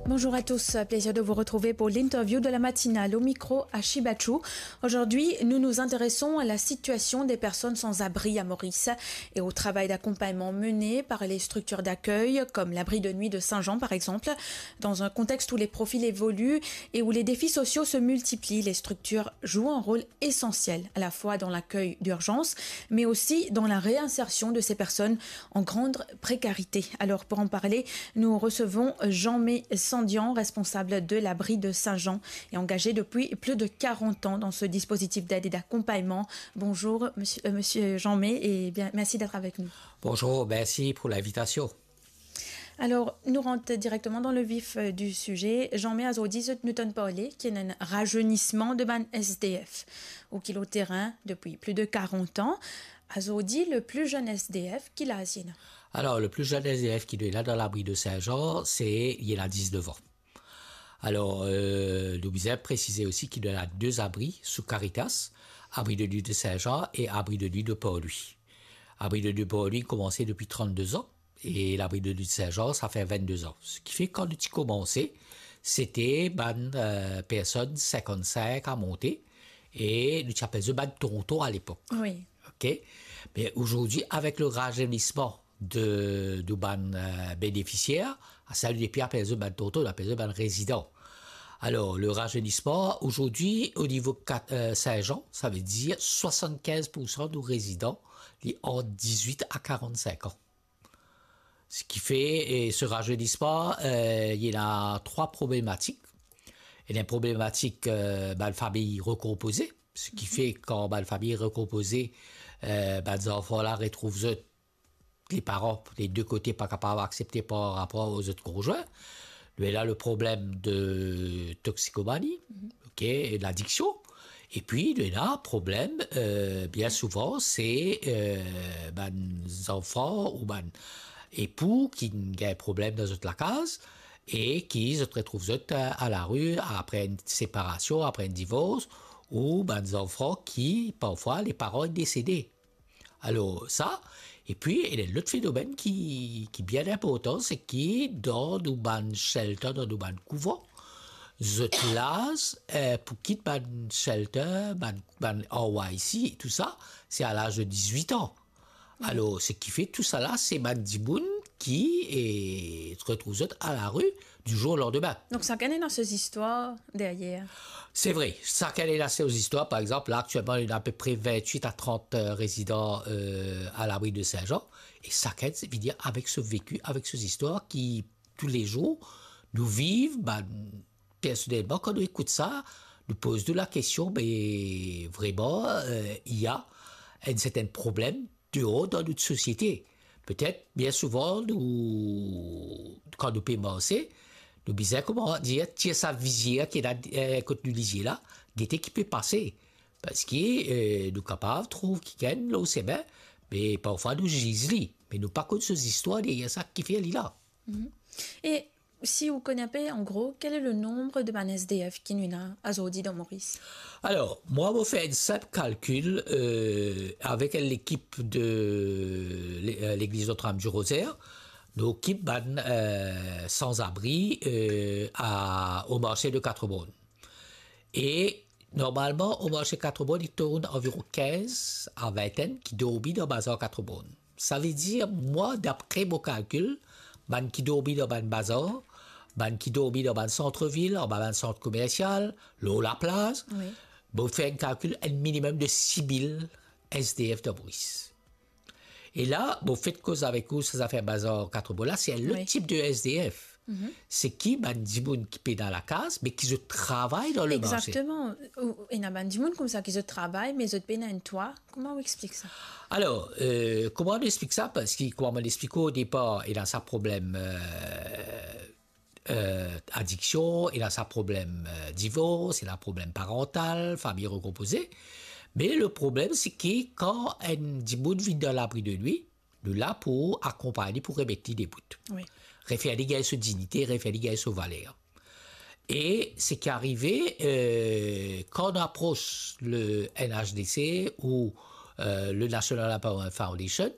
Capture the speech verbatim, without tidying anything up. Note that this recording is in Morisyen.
Bonjour à tous, plaisir de vous retrouver pour l'interview de la matinale, au micro Ashi Bachou. Aujourd'hui, nous nous intéressons à la situation des personnes sans abri à Maurice et au travail d'accompagnement mené par les structures d'accueil comme l'abri de nuit de Saint-Jean par exemple. Dans un contexte où les profils évoluent et où les défis sociaux se multiplient, les structures jouent un rôle essentiel à la fois dans l'accueil d'urgence mais aussi dans la réinsertion de ces personnes en grande précarité. Alors pour en parler, nous recevons Jean-May Sandian, responsable de l'abri de Saint-Jean et engagé depuis plus de quarante ans dans ce dispositif d'aide et d'accompagnement. Bonjour monsieur, euh, monsieur Jean-May, et bien, merci d'être avec nous. Bonjour, merci pour l'invitation. Alors, nous rentrons directement dans le vif, euh, du sujet. Jean-May, azordi zot nou tann parle ki ena enn razeynisman de bann S D F, ou ki lor terin depuis plus de quarante ans. Azordi, le plus jeune S D F, ki laz li ena? Alors, le plus jeune S D F ki nou ena dan labri de Saint-Jean, se, li ena diznef an. Alors, euh, nou bizin presize osi ki nou ena de abri sou Caritas, abri de nuit de Saint-Jean e abri de nuit de Port-Louis. Abri de nuit de Port-Louis koumans depi trannde an, e labri de nuit de Saint-Jean, sa fer vennde an. Seki fer, kan nou ti koumanse, sete bann, euh, personn sinkant-sink a monte, e nou ti apel zot bann tonton alepok. Wi. Ok? Me azordi, avek le razeynisman de, de bann, euh, benefisier, sa nou nepli apel zot bann tonton, nou apel zot bann rezidan. Alors, le razeynisman, azordi, o nivo kat-, euh, Saint-Jean, savedir swasann-kinz poursan nou rezidan, li ant dizwit a karant-sink an. Seki fer, e se razeynisman, euh, li ena trwa problematik. Li ena enn problematik, euh, bann fami rekonpoze. Seki fer, kan bann fami rekonpoze, euh, bann zanfan la retrouv zot, le paran, le de kote pa kapav aksepte par rapor a zot konzwin. Nou ena le problem de toxikomani, ok, e ladiksion. Epi nou ena problem, euh, bien souvan, se, euh, bann zanfan ou bann epou ki gagn problem dan zot lakaz e ki zot retrouv zot, euh, a lari apre enn separasion, apre enn divors, ou bann zanfan ki, parfwa, le paran inn desede. Alor, sa, epi, ena lot fenomenn ki, ki bien inportan, seki dan nou bann shelter, dan nou bann kouvan, zot laz, eh, pou kit bann shelter, bann, bann R Y C, tou sa, se a laz de dizwit an. Alor, seki fer tou sa la, se bann dimoun ki, eh, retrouv zot a lari du jour au lendemain. Donk, sakenn ena so zistwar deryer. Se vre, sakenn ena so zistwar. Par exanp, la, aktielman, ena apepre vintwit a trant, euh, rezidan, euh, a labri de Saint-Jean. E sakenn, se vini avek so veki, avek so zistwar ki, toulezour, nou viv, bann, personelman, kan nou ekout sa, nou poz nou lakestion, me vreman, euh, ena enn sertin problem deor dan nou sosiete. Petet, bien souvan, nou, kan nou pe marse, nou bizin, kouma dir, tir sa vizier ki ena, eh, kot nou lizie la, gete ki pe pase. Parski, eh, nou kapav trouv kikenn lor semin, me parfwa nou ziz li, me nou pa konn so zistwar deryer sa ki fer li la. Mhm. E si ou kone inpe, an gro, quel est le nombre de bann S D F ki nou ena azordi dan Moris? Alor, mwa, mo fer enn sinp kalkil, euh, avek enn lekip de le-, euh, Legliz Notre-Dame du Rosaire, nou okip bann, euh, sanzabri, euh, a, o marse de Quatre-Bornes. E normalman, o marse Quatre-Bornes, li tourn anviron kinz a vintenn ki dormi dan bazar Quatre-Bornes. Savedir, mwa, dapre mo kalkil, bann ki dormi dan bann bazar, bann ki dormi dan bann santrvil, anba bann sant komersial, lor laplaz, wi, mo fer enn kalkil, enn minimem de sis mil S D F dan Moris. E la, mo fek koz avek ou, sa zafer bazar Quatre-Bornes la, se enn lot, wi, tip de S D F. Mhm. Seki bann dimoun ki pena lakaz, me ki zot travay dan le marse. Exactement. Ou, ena bann dimoun koumsa ki zot travay, me zot pena enn twa. Kouma ou explik sa? Alor, euh, kouma nou explik sa? Parski, kouma mo explik ou o depar, ena sa problem, euh, euh, adiksion, ena sa problem, euh, divors, ena problem parantal, fami rekonpoze. Me le problem, seki kan enn dimoun vinn dan labri de nwi, nou la pou akonpagn li, pou remet li debout. Wi. Refer li gagn so dignite, refer li gagn so valer. E seki arive, euh, kan nou apros le N H D C ou, euh, le National Empowerment Foundation,